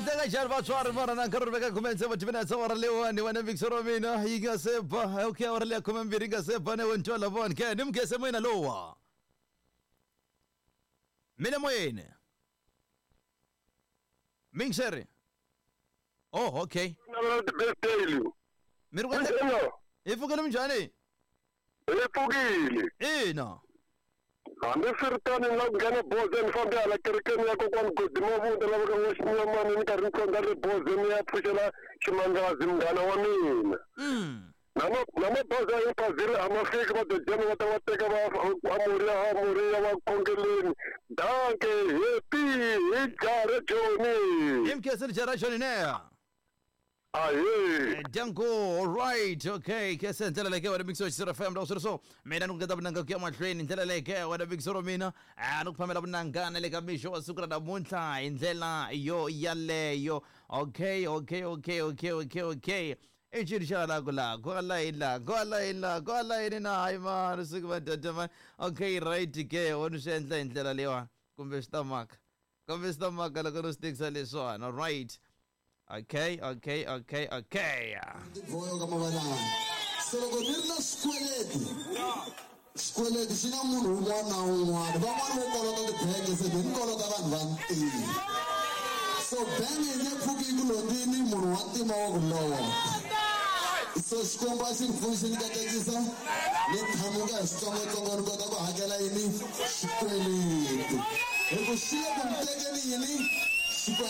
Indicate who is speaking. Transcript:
Speaker 1: Endleka njhani vatswari mara na nkarhi ri veka khume tsevu timinetse awara leyiwani wena mixer wa mina yi nga se ba okay awara leya 12 yi nga se ba ne wentwala vona ke ni mugese moyeni lowa mina moyeni mixer oh okay
Speaker 2: Navela ti-birthday
Speaker 1: mi ri ku
Speaker 2: Hello.
Speaker 1: hi pfukile minjhani
Speaker 2: Hi pfukile.
Speaker 1: Ina.
Speaker 2: Hambiswiritano ni lava ku nghena bozeni ni fambe hala kerekeni ya kokwani Godi Mavunda lava ka N'waxinyamani ni karhi ni tsonga le bozeni ni ya pfuxela Ximangazi munghana wa mina. Na ma na mabazi ya Impaziri a ma fiki va dojana va ta va teka va Amoriya Amoriya va khongeleni. Danke happy hi jare Joni.
Speaker 1: Hi mkhensile jara Joni ne.
Speaker 2: Ahee.
Speaker 1: Danko, alright, okay. Kese ndlela leyi ke wena Big Soul FM loko swi ri so. Mina ni ku ngeta vunanga ku ya mahlweni ndlela leyi ke wena Big Soul mina. Ah ni ku phamela vunanga na le ka mixo wa siku ra namuntlha hi ndlela yo yaleyo. Okay, okay, okay, okay, okay, okay. I ncini xa la ku la kwala yini la kwala yini la kwala yini na hayi mani siku va data mani. Okay, right ke wo ni swi endla hi ndlela leyiwani kumbe swi ta maka. Kumbe swi ta maka loko no swi tekisa leswiwani. Alright. Okay, okay, okay, okay.
Speaker 3: Voyo ka mavalanga se loko ni ri na xikweleti xikweleti xi na munhu un'wana na un'wana van'wani vo kolota tibenge se ni kolota vanhu va ntima so benge yi nge pfuki yi ku londzini munhu wa ntima wa ku lova so xikwembu a xi ni pfuni xi ni katekisa ni thamuka hi switsongotsongo ni kota ku hakela yini xikweleti hi ku xi le ku ni tekeni yini xikweleti.